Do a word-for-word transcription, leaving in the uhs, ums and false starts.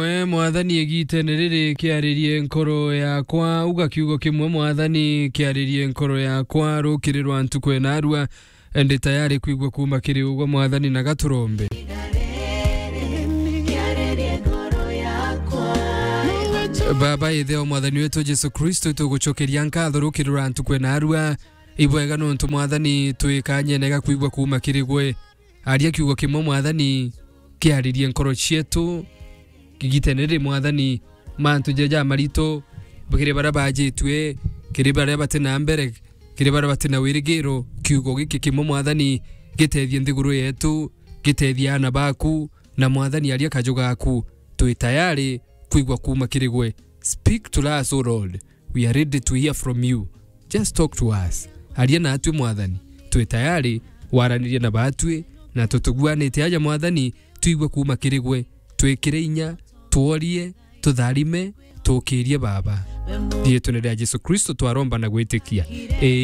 We Mwathani, igitene riri kiaririe nkoro yakwa, uga kiugo kimwe, Mwathani, kiaririe nkoro yakwa, rukiri rwa ntuku enarua, ndi tayari kwigua kuuma kiri ugwe, Mwathani, na gaturombe. Baba, ithe o Mwathani wetu Jesu Kristo, tugucokeria nkatho rukiri rwa ntuku enarua, ibwega nontu, Mwathani, twikanyene ga kwigua kuuma kiri gwe. Aria kiugo kimwe, Mwathani, kiaririe nkoro cietu, kigitene ri, Mwathani, mantu jaja marito, kiri baria bajitue, kiri baria bati na mbere, kiri baria bati na wirigiro, kiugo giki kimwe, Mwathani, gitethie nthiguru yetu, gitethie aana baku, na, Mwathani, aria kaju gaku, twi tayari kwigua kuuma kiri gwe. Speak to us, O Lord. We are ready to hear from you. Just talk to us. Aria natwi, Mwathani. Twi tayari waranirie na batwi, na tutuguanite aja, Mwathani, twigwe kuuma kiri gwe. Twikire inya, tworie, tutharime, tukirie, Baba. Riitwene ria Jesu Kristo twaromba na gwitikia.